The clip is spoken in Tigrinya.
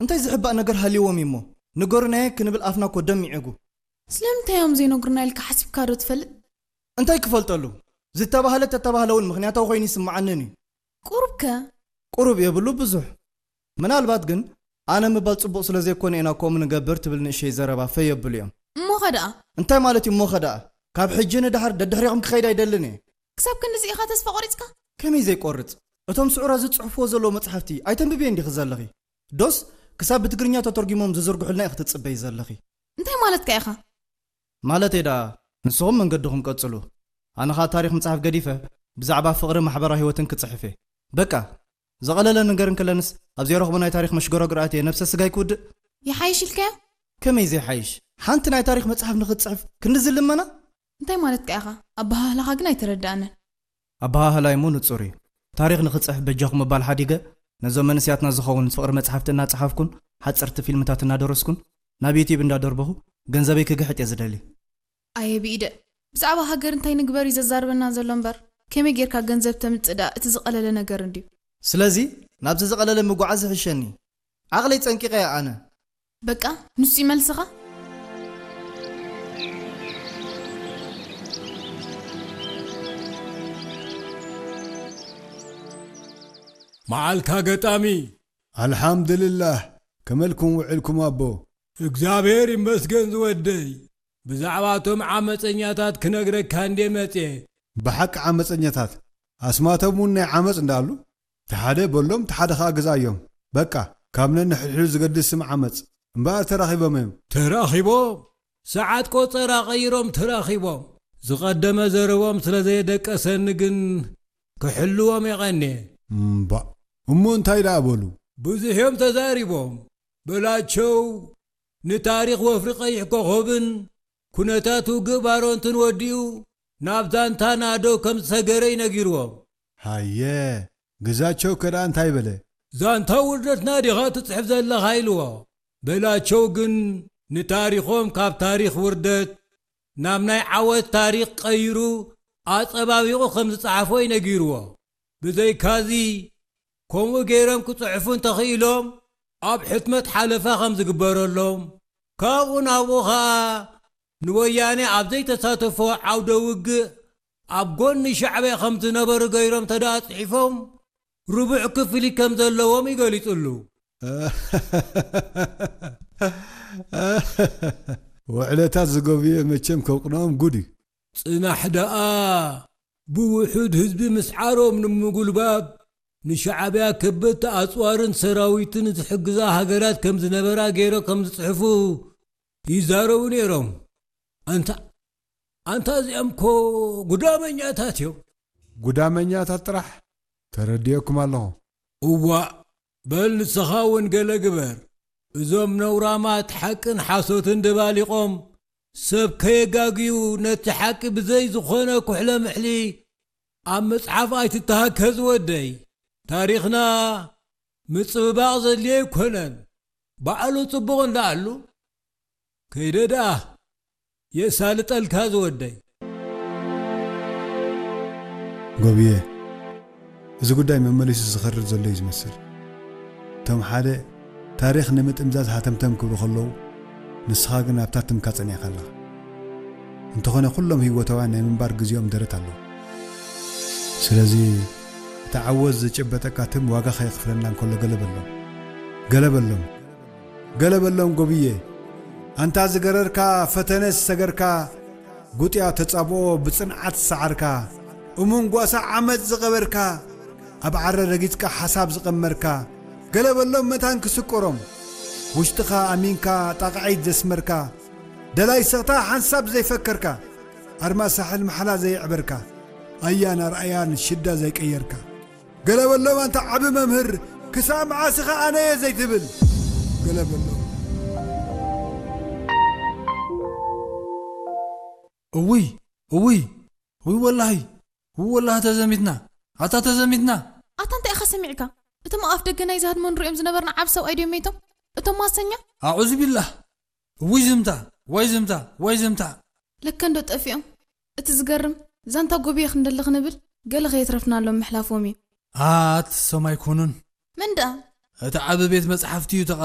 እንታይ ዝሕባእ ነገር ሃልይዎም እዩሞ? ንገሩናየ ክንብል ኣፍና እኮ ደም ይዕጉ። ስለምንታይ እዮም ዘይነግሩና ኢልካ ሓሲብካ ዶ ትፈልጥ? እንታይ ክፈልጠሉ? ዝተባህለ ተተባህለ እውን ምኽንያታዊ ኮይኑ ይስምዓንን እዩ። ቁሩብ ከ? ቁሩብ የብሉ ብዙሕ። ምናልባት ግን ኣነ ምባል ጽቡቕ ስለ ዘይኮነ ኢና ከምኡ ንገብር ትብል ንእሸይ ዘረባ ፈይ የብሉ እዮም። እሞኸ ደኣ? እንታይ ማለት እዩ እሞኸ ደኣ? ካብ ሕጂ ንድሓር ደድሕሪኹም ክኸይድ ኣይደልን እየ። ክሳብ ክንድዚ ኢኻ ተስፋ ቆሪጽካ? ከመይ ዘይቆርጽ? እቶም ስዑራ ዝጽሕፍዎ ዘለዉ መጽሓፍቲ ኣይተንብብየን ዲኺ ዘለኺ? ዶስ ክሳብ ብትግርኛ ተተርጒሞም ዝዝርግሑልና ኢኺ ትጽበዪ ዘለኺ? እንታይ ማለትካ ኢኻ? ማለተይ ደኣ ንስኹም መንገድኹም ቀጽሉ። ኣነ ኸኣ ታሪኽ ምጽሓፍ ገዲፈ ብዛዕባ ፍቕሪ ማሕበራዊ ህይወትን ክጽሕፍ እየ። በቃ፣ ዝቐለለ ነገር እንከለንስ ኣብ ዘይረኽቦ ናይ ታሪኽ መሽጎራጉር ኣትየ ነብሰ ስጋይ ክውድእ? ይሓይሽ ኢልካዮ? ከመይ ዘይሓይሽ? ሓንቲ ናይ ታሪኽ መጽሓፍ ንኽትጽሕፍ ክንድዚ ልመና? እንታይ ማለትካ ኢኻ? ኣበሃህላኻ ግን ኣይተረድኣንን። ኣበሃህላይ እሞ ንጹር እዩ። ታሪኽ ንኽጽሕፍ በጃኹም ምባል ሓዲገ፣ ነዞም መንእሰያትና ዝኸውን ፍቕሪ መጽሓፍቲ እናጸሓፍኩን ሓጸርቲ ፊልምታት እናደረስኩን ናብ ዩትዩብ እንዳደርበኹ ገንዘበይ ክግሕጥ እየ ዝደሊ። ኣየ ብኢደ፣ ብዛዕባ ሃገር እንታይ ንግበር እዩ ዘዛርበና ዘሎ እምበር፣ ከመይ ጌርካ ገንዘብ ተምጽእ ደኣ እቲ ዝቐለለ ነገር እንድዩ። ስለዚ ናብቲ ዝቐለለ ምጉዓዝ ይሕሸኒ። ዓቕለይ ጸንቂቐ እየ ኣነ። በቃ፣ ንሱ እዩ መልስኻ? መዓልታ ገጣሚ። ኣልሓምድልላህ፣ ከመልኩም ውዕልኩም ኣቦ? እግዚኣብሔር ይመስገን ዝወደይ። ብዛዕባ እቶም ዓመፀኛታት ክነግረካ እንዴ መፅየ። ብሓቂ ዓመፀኛታት? ኣስማቶም እውን ናይ ዓመፅ እንዳኣሉ? እቲ ሓደ በሎም፣ እቲ ሓደ ኸኣ ግዝኣዮም። በቃ፣ ካብ ነንሕድሕዱ ዝገድስ ስም ዓመፅ። እምበኣር ተራኺቦም እዮም። ተራኺቦም? ሰዓት ቆጸራ ቀይሮም ተራኺቦም። ዝቐደመ ዘረቦም ስለ ዘየደቀሰኒ ግን ክሕልዎም የቐንየ። እምባእ፣ እሞ እንታይ ደኣ በሉ? ብዙሕ እዮም ተዛሪቦም። በላቸው ንታሪኽ ወፍሪ ቀይሕ ኮኾብን ኩነታት ውግእ ባረንቱን ወዲኡ ናብ ዛንታ ናደው ከም ዝሰገረ እዩ ነጊርዎም። ሃየ፣ ግዛቸው ከ ደኣ እንታይ በለ? ዛንታ ውርደትና ዲኻ ትጽሕፍ ዘለኻ ኢልዎ። በላቸው ግን ንታሪኾም ካብ ታሪኽ ውርደት ናብ ናይ ዓወት ታሪኽ ቀይሩ ኣጸባቢቑ ከም ዝጸሓፎ እዩ ነጊርዎ። ብዘይካዚ፣ ከምኡ ገይሮም ክጽሕፉ እንተኽኢሎም፣ ኣብ ሕትመት ሓለፋ ከም ዝግበረሎም፣ ካብኡ ናብኡ ኸኣ ንወያኔ ኣብ ዘይተሳተፎ ዓውደ ውግእ ኣብ ጎኒ ሻዕብያ ከም ዝነበሩ ገይሮም ተደኣ ጽሒፎም፣ ርቡዕ ክፍሊት ከም ዘለዎም እዩ ገሊጹሉ። ውዕለታት ዝገብየ መቸም ከውቅንኦም ጉድ እዩ። ጽናሕ ደኣ ብውሑድ ህዝቢ ምስዓሮም ንምጉልባብ ንሻዕብያ ከበድቲ ኣጽዋርን ሰራዊትን ዝሕግዛ ሃገራት ከም ዝነበራ ገይሮም ከም ዝጽሕፉ ይዛረቡ ነይሮም። ኣንታ፣ ኣንታ እዚኦም እኮ ጉዳመኛታት እዮም። ጉዳመኛታት ጥራሕ? ተረዲኦኩም ኣለኹ። እዋእ፣ በል ንስኻ እውን ገለ ግበር። እዞም ነውራማት ሓቅን ሓሶትን ደባሊቖም ሰብ ከየጋግዩ ነቲ ሓቂ ብዘይ ዝኾነ ኩሕለ ምሕሊ ኣብ መጽሓፍ ኣይትተሃከ ዝወደይ። ታሪኽና ምጽብባቕ ዘድልዮ ኣይኮነን። ባዕሉ ጽቡቕ እንዳኣሉ ከይደ ደኣ የሳልጠልካ ዝወደይ። ጎብየ፣ እዚ ጉዳይ መመሊሱ ዝኸርር ዘሎ እዩ ዝመስል። እቶም ሓደ ታሪኽ ንምጥምዛዝ ሃተምተም ክብሉ ከለዉ፣ ንስኻ ግን ኣብታ ትምካ ጸኒዕካ ኣለኻ። እንተኾነ ኩሎም ህይወታውያን ናይ ምንባር ግዜኦም ደረት ኣለዎ። ስለዚ እቲ ዓወት ዝጭበጠካ ትም ዋጋ ከየኽፍለና እንከሎ ገለ በሎም። ገለ በሎም። ገለ በሎም ጎብየ። ኣንታ ዝገረርካ፣ ፈተነ ዝሰገርካ፣ ጉጥያ ተጻብኦ ብጽንዓት ዝሰዓርካ፣ እሙን ጓሳ ዓመጽ ዝቐበርካ፣ ኣብ ዓረ ረጊጽካ ሓሳብ ዝቐመርካ፣ ገለ በሎም መታን ክስቆሮም። ውሽጥኻ ኣሚንካ ጣቕዒት ዘስመርካ፣ ደላይ ስቕታ ሓንሳብ ዘይፈከርካ፣ ኣርማ ሳሕል ማሕላ ዘየዕበርካ፣ ኣያን ኣርኣያን ሽዳ ዘይቀየርካ። ገለ በሎም ኣንታ ዓቢ መምህር፣ ክሳብ መዓስ ኢኻ ኣነ እየ ዘይትብል? ገለ በሎም። እውይ፣ እውይ፣ እውይ ወላሂ፣ እውይ ወላሂ ተዘሚትና፣ ኣታ ተዘሚትና። ኣታ እንታይ ኢኻ ሰሚዕካ? እቶም ኣብ ኣፍ ደገ ናይ ዝሃድሞ ንሪኦም ዝነበርና ዓቢ ሰብኣይ ድዮም መይቶም? እቶም ማሰኛ? ኣዑዙ ቢላህ። እውይ ዝምታ፣ ዋይ ዝምታ፣ ዋይ ዝምታ። ለከ እንዶ ጠፊኦም። እቲ ዝገርም፣ ዛንታ ጎብየ ክንደሊ ክንብል፣ ገለ ከየትረፍናሎም ምሕላፎም እዩ። ኣት፣ እሶም ኣይኮኑን። መን ደኣ? እቲ ዓቢ ቤት መጽሓፍቲ እዩ ተቓጺሉ።